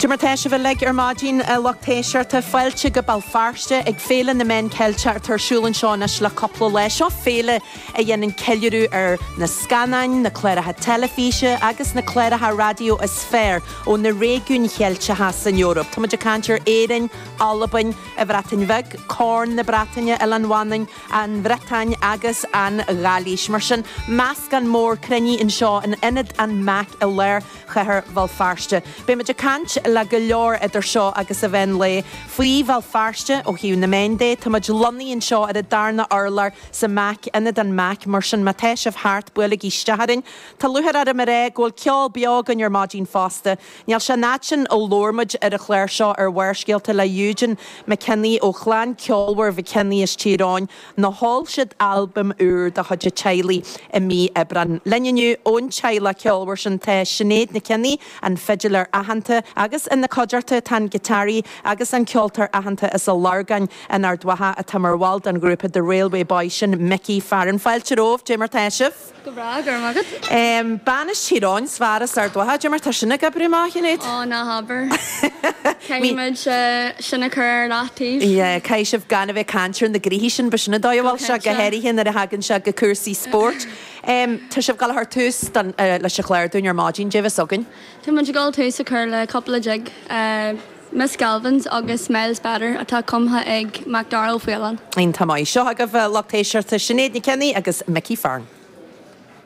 Cad é mar tá sibh uilig ar maidin, a lucht éisteachta. Fáilte go Béal Feirste ag Féile na Meán Ceilteach atá ar siúl anseo anois le cúpla lá. Seo féile a dhéanann ceiliúradh ar na scannáin, na cláracha teilifíse agus na cláracha raidió is fearr ó na réigiúin Cheilteacha san Eoraip. Tá muid ag caint ar Éirinn, Albain, an Bhreatain Bheag, Corn na Breataine, Oileán Mhanainn, an Bhriotáin agus an Ghailís. Mar sin, meascán mór cruinnithe anseo in Ionad an MAC i lár chathair Bhéal Feirste. Beidh muid ag caint le go leor idir seo agus an mheán lae faoi Bhéal Feirste ó thaobh na meán de. Tá muid lonnaithe anseo ar an darna urlár sa MAC, Ionad an MAC, mar sin má tá sibh thart, buailigí isteach orainn. Tá lúcháir orm a rá go bhfuil ceol beo againn ar maidin fosta. Níl sé an fhad sin ó labhair muid ar an chlár seo ar Bharrscéalta le Eugene McKinney ó chlann ceolmhar McKinney as Tír Eoghain nó sheol siad albam úr de chuid an teaghlaigh i mí Aibreáin. Linn inniu ón teaghlach ceolmhar sin tá Sinéad McKinney, an fidiléir aitheanta, agus ina cuideachta tá an giotáraí agus an ceoltóir aitheanta as an Lorgain in Ard Mhacha atá mar bhall den ghrúpa The Railway Boys, sin Mickey Farren. Fáilte romhaibh, cad é mar tá sibh? Go breá, go raibh maith agat. Bean as Tír Eoghain 's fear as Ard Mhacha, cad é mar tá sin ag oibriú amach, a Shinéad? Ó, ná habair. Caithfidh muid sin a chur ar leataobh. Yeah, caithfidh sibh gan a bheith ag caint ar na gnoithí sin, b'shin an dóigh a bhfuil sé, go háirithe nuair a thagann sé go cúrsaí spóirt. Tá sibh ag dul a chur tús leis an chlár dúinn ar maidin, cad é a bheas againn? Tá muid ag dul tús a chur le cúpla jig. Miss Galvins agus Miles Better atá cumtha ag Macdara Ó Faoláin. Iontach maith. Seo agaibh lucht éisteachta Sinéad Nic Cionnaith agus Mickey Farren.